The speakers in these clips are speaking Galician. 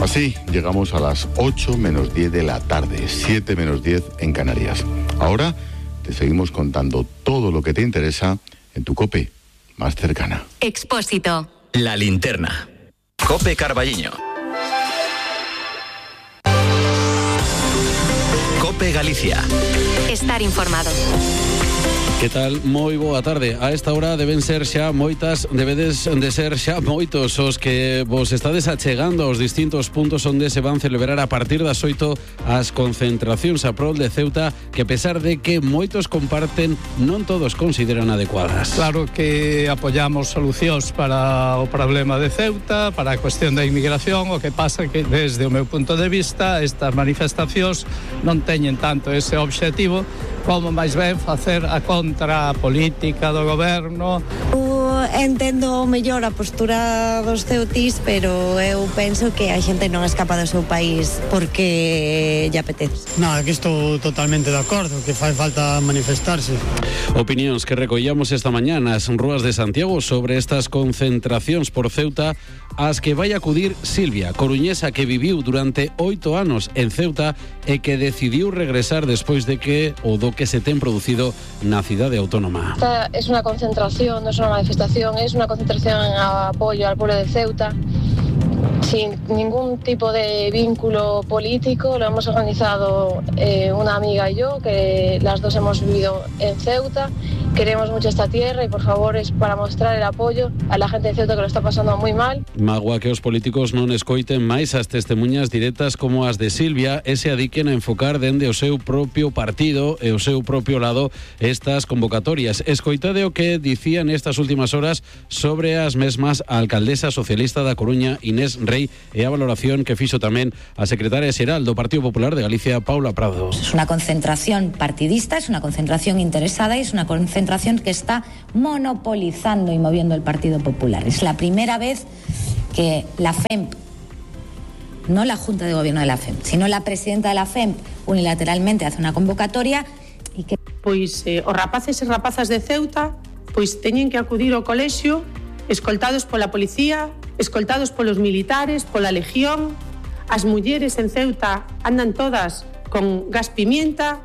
Así llegamos a las 8 menos 10 de la tarde, 7 menos 10 en Canarias. Ahora te seguimos contando todo lo que te interesa en tu COPE más cercana. Expósito. La linterna. COPE Carballiño. COPE Galicia. Estar informado. Que tal? Moi boa tarde. A esta hora debedes de ser xa moitos os que vos estades achegando aos distintos puntos onde se van celebrar a partir das 8 as concentracións a prol de Ceuta, que a pesar de que moitos comparten, non todos consideran adecuadas. Claro que apoyamos solucións para o problema de Ceuta, para a cuestión da inmigración. O que pasa que, desde o meu punto de vista, estas manifestacións non teñen tanto ese obxectivo como máis ben facer a contra política do goberno. Entendo mellor a postura dos ceutís, pero eu penso que a xente non escapa do seu país porque lle apetece. Nada, que estou totalmente de acordo, que fai falta manifestarse. Opinións que recollamos esta mañá nas rúas de Santiago sobre estas concentracións por Ceuta, as que vai acudir Silvia, coruñesa que viviu durante 8 anos en Ceuta e que decidiu regresar despois de que que se ten producido na cidade autónoma. Esta es una concentración, no es una manifestación, es una concentración en apoyo al pueblo de Ceuta, sin ningún tipo de vínculo político. Lo hemos organizado una amiga y yo, que las dos hemos vivido en Ceuta. Queremos mucho esta tierra y por favor es para mostrar el apoyo a la gente de Ceuta que lo está pasando muy mal. Magua que os políticos non escoiten máis as testemunhas directas como as de Silvia e se adiquen a enfocar dende o seu propio partido e o seu propio lado estas convocatorias. Escoitade o que dicía nestas últimas horas sobre as mesmas a alcaldesa socialista da Coruña, Inés Rey, e a valoración que fixo tamén a secretaria xeral do Partido Popular de Galicia, Paula Prado. Es una concentración partidista, es una concentración interesada y es una concentración que está monopolizando y moviendo el Partido Popular. Es la primera vez que la FEMP, no la Junta de Gobierno de la FEMP, sino la presidenta de la FEMP unilateralmente hace una convocatoria y que... Pois os rapaces e rapazas de Ceuta pois teñen que acudir ao colexio escoltados pola policía, escoltados polos militares, pola legión. As mulleres en Ceuta andan todas con gas pimienta.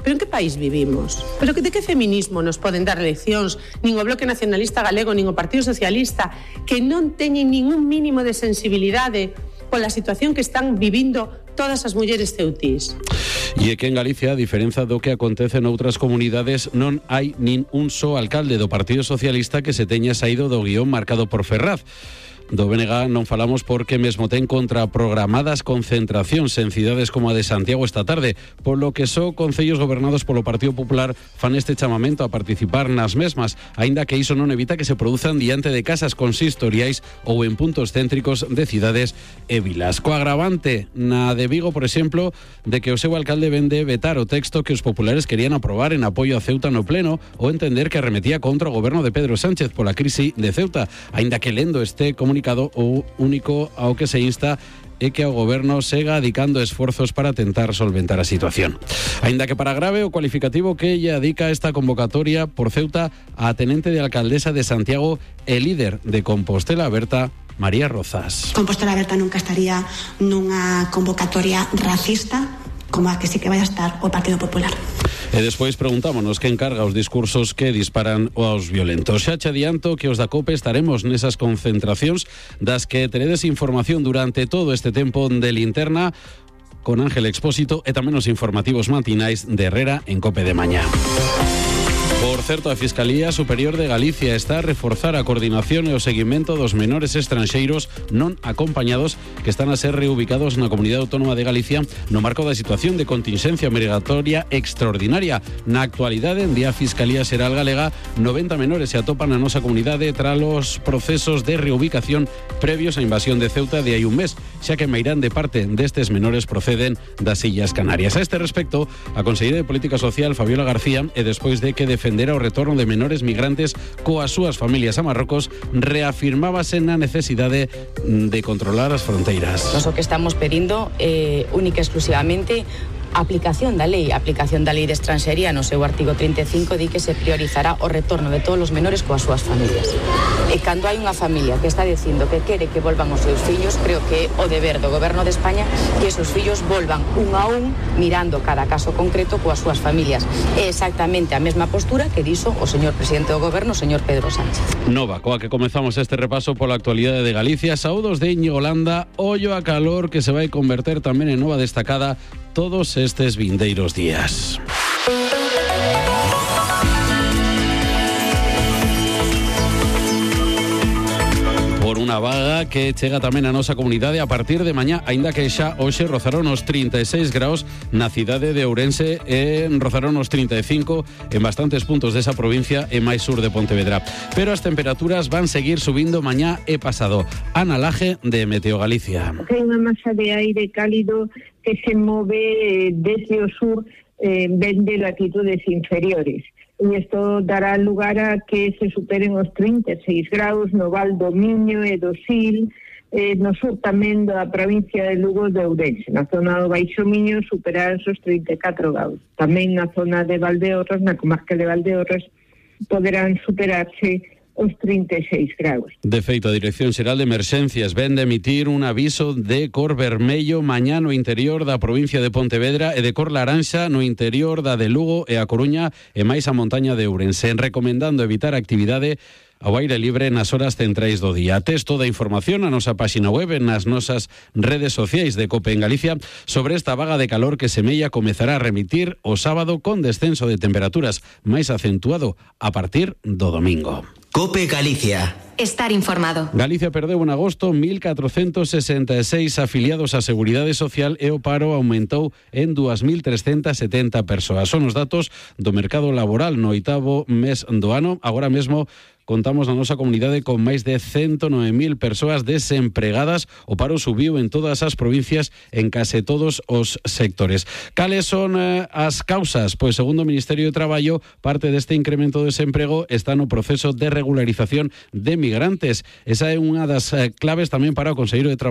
Pero en que país vivimos? Pero de que feminismo nos poden dar leccións nin o Bloque Nacionalista Galego nin o Partido Socialista, que non teñen ningún mínimo de sensibilidade pola situación que están vivindo todas as mulleres ceutís? E é que en Galicia, a diferenza do que acontece noutras comunidades, non hai nin un só alcalde do Partido Socialista que se teña saído do guión marcado por Ferraz. Do BNG non falamos porque mesmo ten contraprogramadas concentracións en cidades como a de Santiago esta tarde, polo que só concellos gobernados polo Partido Popular fan este chamamento a participar nas mesmas, aínda que iso non evita que se produzan diante de casas consistoriais ou en puntos céntricos de cidades e vilas. Co agravante na de Vigo, por exemplo, de que o seu alcalde vende vetar o texto que os populares querían aprobar en apoio a Ceuta no pleno, ou entender que arremetía contra o goberno de Pedro Sánchez pola crise de Ceuta, aínda que lendo este comunicado o único ao que se insta é que o goberno sega adicando esforzos para tentar solventar a situación. Aínda que para grave o cualificativo que ella adica esta convocatoria por Ceuta a tenente de alcaldesa de Santiago e líder de Compostela Aberta, María Rozas. Compostela Aberta nunca estaría nunha convocatoria racista como a que sí que vai a estar o Partido Popular. E despois preguntámonos que encarga os discursos que disparan aos violentos. Xa che adianto que os da COPE estaremos nesas concentracións das que teredes información durante todo este tempo de linterna con Ángel Expósito e tamén os informativos matinais de Herrera en COPE de mañá. Por certo, a Fiscalía Superior de Galicia está a reforzar a coordinación e o seguimento dos menores estranxeiros non acompañados que están a ser reubicados na Comunidade Autónoma de Galicia no marco da situación de contingencia migratoria extraordinaria. Na actualidade, en día a Fiscalía Xeral Galega, 90 menores se atopan na nosa comunidade tras os procesos de reubicación previos á invasión de Ceuta de hai un mes, xa que meirán de parte destes menores proceden das Illas Canarias. A este respecto, a conselleira de Política Social, Fabiola García, e despois de que defendera o retorno de menores migrantes coas súas familias a Marrocos, reafirmábase na necesidade de controlar as fronteiras. Nós o que estamos pedindo única e exclusivamente a aplicación da lei de estranxería no seu artigo 35 di que se priorizará o retorno de todos os menores coas súas familias. E cando hai unha familia que está dicindo que quere que volvan os seus fillos, creo que o deber do Goberno de España que esos fillos volvan un a un, mirando cada caso concreto coas súas familias. É exactamente a mesma postura que dixo o señor presidente do Goberno, o señor Pedro Sánchez. Nova, coa que comezamos este repaso pola actualidade de Galicia. Saúdos de Íñigo Landa, ollo a calor que se vai converter tamén en nova destacada todos estes vindeiros días. Por unha vaga que chega tamén a nosa comunidade a partir de mañá, aínda que xa hoxe rozaron os 36 graus na cidade de Ourense e rozaron os 35 en bastantes puntos desa provincia e máis sur de Pontevedra. Pero as temperaturas van seguir subindo mañá e pasado. Ana Laje, de Meteo Galicia. Hai unha masa de aire cálido que se move desde o sur, ven de latitudes inferiores. E isto dará lugar a que se superen os 36 graus no Val do Miño e do Sil, no sur tamén da provincia de Lugo de Ourense. Na zona do Baixo Miño superarán os 34 graus. Tamén na zona de Valdeorras, na comarca de Valdeorras, poderán superarse os 36 graus. De feito, a Dirección Xeral de Emerxencias ven de emitir un aviso de cor vermello mañá no interior da provincia de Pontevedra e de cor laranxa no interior da de Lugo e a Coruña e máis a montaña de Ourense, recomendando evitar actividade ao aire libre nas horas centrais do día. Tes toda a información na nosa páxina web e nas nosas redes sociais de COPE en Galicia sobre esta vaga de calor que semella comezará a remitir o sábado con descenso de temperaturas máis acentuado a partir do domingo. COPE Galicia. Estar informado. Galicia perdeu en agosto 1.466 afiliados á Seguridade Social e o paro aumentou en 2.370 persoas. Son os datos do mercado laboral no 8º mes do ano. Agora mesmo contamos na nosa comunidade con máis de 109.000 persoas desempregadas. O paro subiu en todas as provincias en case todos os sectores. Cales son as causas? Pois, segundo o Ministerio de Traballo, parte deste incremento de desemprego está no proceso de regularización de migrantes. Esa é unha das claves tamén para o Conselleiro de Traballo